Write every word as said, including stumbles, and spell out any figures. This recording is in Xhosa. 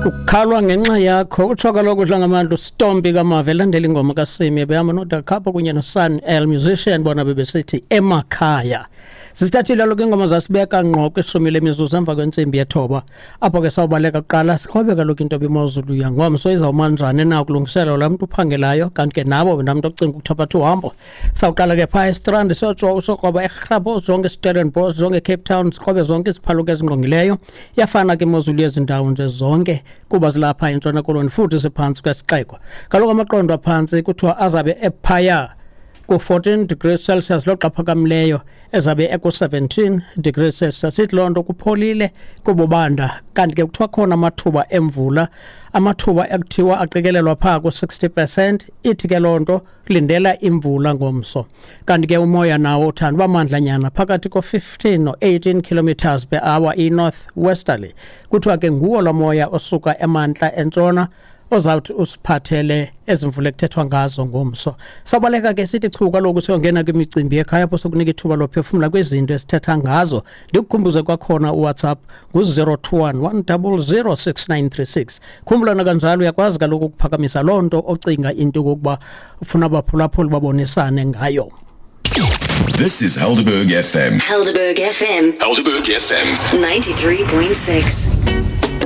Kukhalwa ngenxa yakho, utsho kaloku uDlangamandla uStompi kaMave elandela ingoma kaSimi behamba noDakhapha kunye noSun El Musician, bona bebesithi "Emakhaya". Sisithathile kaloku ingoma zasibeka ngqo kwishumi lemizuzu emva kwentsimbi yethoba, apho ke sawubaleka kuqala sikrobe kaloku into bimozulu yangomso izawuma njani na ukulungiselela laa mntu uphangelayo, kanti ke nabo namntu ocinga ukuthabatha uhambo. Sawuqala ke phaa eStrand, siyokroba eRhapo, zonke Stellenbosch, zonke Cape Town, sikrobe zonke iziphaluka ezingqongileyo. Iyafana ke imozulu yezi ndawo nje zonke kuba zilapha eNtshona Koloni futhi siphantsi kwesixeko. Kaloku amaqondo aphantsi kuthiwa azabe ephaya ku-fourteen degrees Celsius, loxa phakamileyo ezabe eku-seventeen degrees Celsius. Sithi loo nto kupholile kububanda. Kanti ke kuthiwa khona amathuba emvula, amathuba ekuthiwa aqikelelwa phaa ku-sixty percent. Ithi ke loo nto lindela imvula ngomso. Kanti ke umoya nawo uthanda uba mandlanyana, phakathi ko-fifteen no-eighteen kilometers per hour, i-north westerly. Kuthiwa ke nguwo lo moya osuka emantla entshona ozawuthi usiphathele ezi mvula ekuthethwa ngazo ngomso. Sawubaleka ke sithi chu kaloku siyongena kwimicimbi yekhaya, apho sokunika ithuba lophefumla kwizinto esithetha ngazo. Ndikukhumbuze kwakhona, uWhatsApp ngu-zero two one one double zero six nine three six. Khumbulana kanjalo, uyakwazi kaloku ukuphakamisa loo nto ocinga into yokokuba ufuna abaphulaphuli babonisane ngayo. This is Helderberg F M. Helderberg F M. Helderberg F M. ninety-three point six.